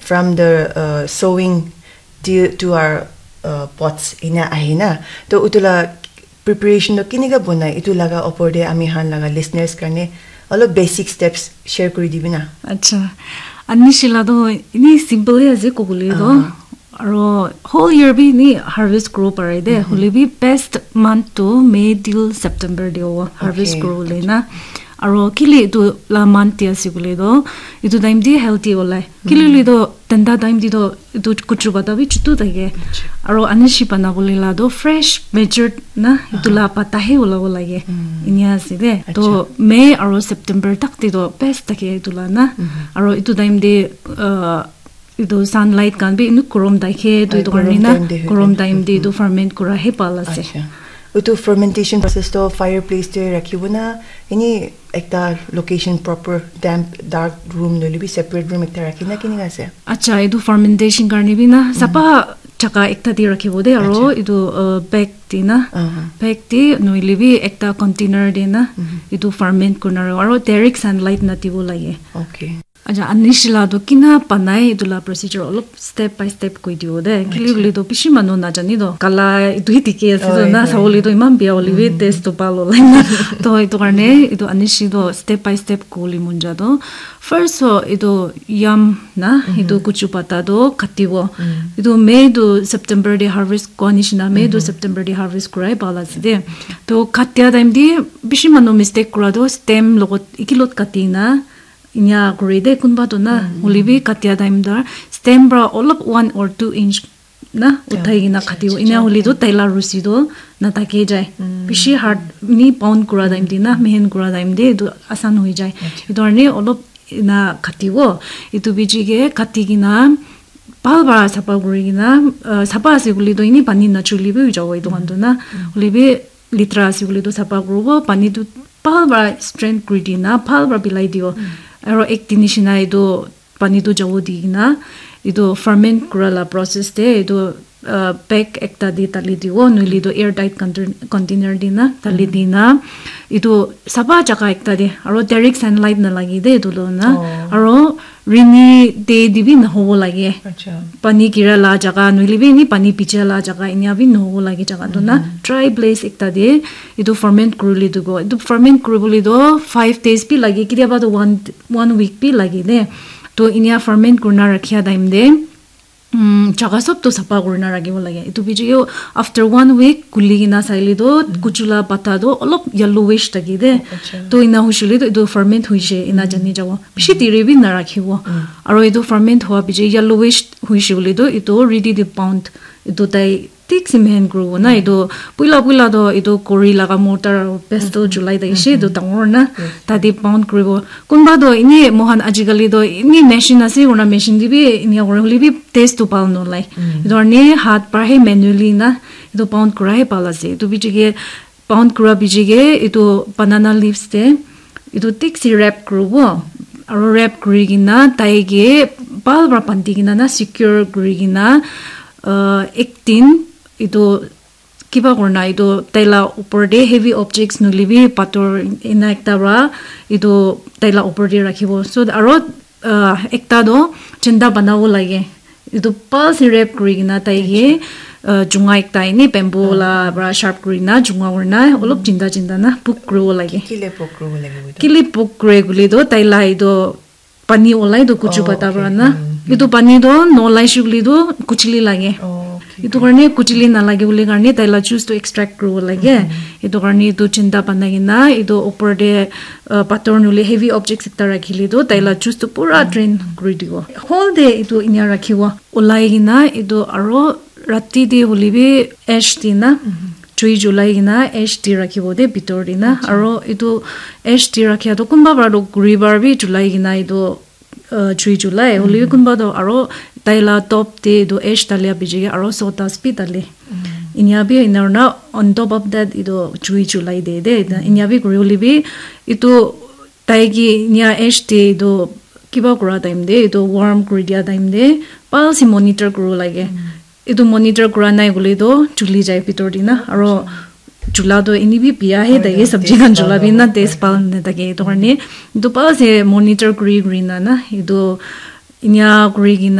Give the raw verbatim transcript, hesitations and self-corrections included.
from the uh, sowing to, to our uh, pots ena ahi na. To utu la preparation to kinika bonai itu laga opor de ami han laga listeners karne alop basic steps share kuri dibi na. Acha. Ani shila do ini simple he ase kobole do. Aro whole year bi ni harvest kuro pare de. Hole bi best month to May till September de o harvest kuro le na. Aro kile itu la month de ase kole do. Itu time de healthy olai. Kile le do tenda time de do itu kuchu pata bi chutu thake. Aro ani shi bana bole la do fresh matured na itu la pata he ola ola ge. Inia ase de. To May aro September tak de do best thake itu la na. Aro itu time de uh, itu sunlight khan bi inu korom daikhe tu itu karne na korom time te itu ferment kura he pal ase. Utu fermentation process to fireplace te rakhibo na ini ekta location proper damp dark room noile bi separate room ekta rakhi na kini ase? Acha, itu fermentation karne bi na sapa jaka ekta te rakhibo de aro itu uh, bag te na bag te noile bi ekta container te na itu ferment kurna aro direct sunlight na dibo lage. Okay. Acha, ani shila to kina banai itu la procedure olop step by step koi dibo de. Kile kile to bishi manu na jani to. Kala itu hi dikhi ase to na sabole to iman bia hole bi taste to pal olai na. To itu karne itu ani shi to step by step kuli monja to. First so itu yam na itu kuchu pata to katibo. Itu May to September de harvest kua nishina May to September de harvest kurai pal ase de. To katia time de bishi manu mistake kura to stem logot ikilot kati na inya kuri de kunba to na hole bi katia time da stem pra olop one or two inch na uthai kena kati inya hole to taila rusi to na thake jai bishi hard ni pound kura time de na mehen kura time de to asan hoi jai itu karne olop na katibo itu biji ke kati kena bhal para sapa kuri kena uh, sapa ase kuli to ini pani na chuli bi jabo itu kan to na hole bi litra ase kuli to sapa kuribo pani to bhal para strain kuri dina bhal para bilai dibo aro ek din nishina itu pani tu jabo di kena itu ferment kura la process te itu uh, bag ekta te dali dibo noile itu air tight contain- container dina dali dina itu sapa jaka ekta te aro direct sunlight nalagi de itu lo na aro rainy day te bi nahobo lage pani gira la jaka noile bi ni pani bicha la jaka inia bi nahobo lage jaka tu na dry place ekta te itu ferment kuribole tu go itu ferment kuribole tu five days bi lage kitiaba tu one one week bi lage de to inia ferment kurina rakhia time te um, jaga sob tu sapa kurina rakhibo lage itu biche yo after one week kuli kena saile tu kuchula pata tu olop yellowish thaki de to ina hushile tu itu ferment huishe ina jani jabo bishi diri bi narakhibo aro itu ferment hua biche yellowish huishe bole tu itu ready to pound itu tai thik se mehen kuribo na etu puila puila toh etu khuri laga mortar aro pestle chulai thakishe etu dangor na tate pound kuribo kunba toh eni moikhan ajikali toh eni machine ase koina machine te bi enia kura hoile bi taste toh bhal nolai etu karne hath para he manually na etu pound kura he bhal ase etu biche ke pound kura biche ke etu banana leaves te etu thik se wrap kuribo aro wrap kuri kena tai ke bhal para bandi kena na secure kuri kena uh, ek din etu kiba kurina etu taila upor te heavy objects nohoile bi pathor ena ekta para etu taila upor te rakhibo so aro uh, ekta toh chanda banabo lage etu bhal se wrap kuri kena tai ke uh, chunga ekta eni bamboo la para sharp kuri na chunga kuri na olop chinta chinta na book kuribo lage Kile pok kuribo lage etu? Kile book kure koile toh taila etu pani olai toh kuchu pata para na etu pani toh nolai she koile toh kuchili lage etu karne kuchili nalage bole karne taila juice toh extract kuribo lage etu karne etu chinta banai kena etu upor te uh, pathor nohoile heavy objects ekta rakhile toh taila juice toh pura drain kuri dibo whole day etu enia rakhibo olai kena etu aro rati te hoile bi ash di na jui julai kena ash di rakhibo de bitor te na aro etu ash di rakhia toh kunba para toh khuri para bi julai kena etu uh, jui julai hoile bi kunba toh aro taila top te etu ash dalia biche ke aro sawdust bi dale enia bi enia na on top of that etu jui julai de de enia bi kuri hoile bi etu tai ke enia ash te etu kiba kura time te etu warm kuri dia time te bhal se monitor kuribo lage etu monitor kura nai koile toh juli jai bitor te na aro jula toh eni bi bia he thake sabji khan jula bi na taste bhal nathake etu karne etu bhal se monitor kuri kuri na na etu enia kuri kena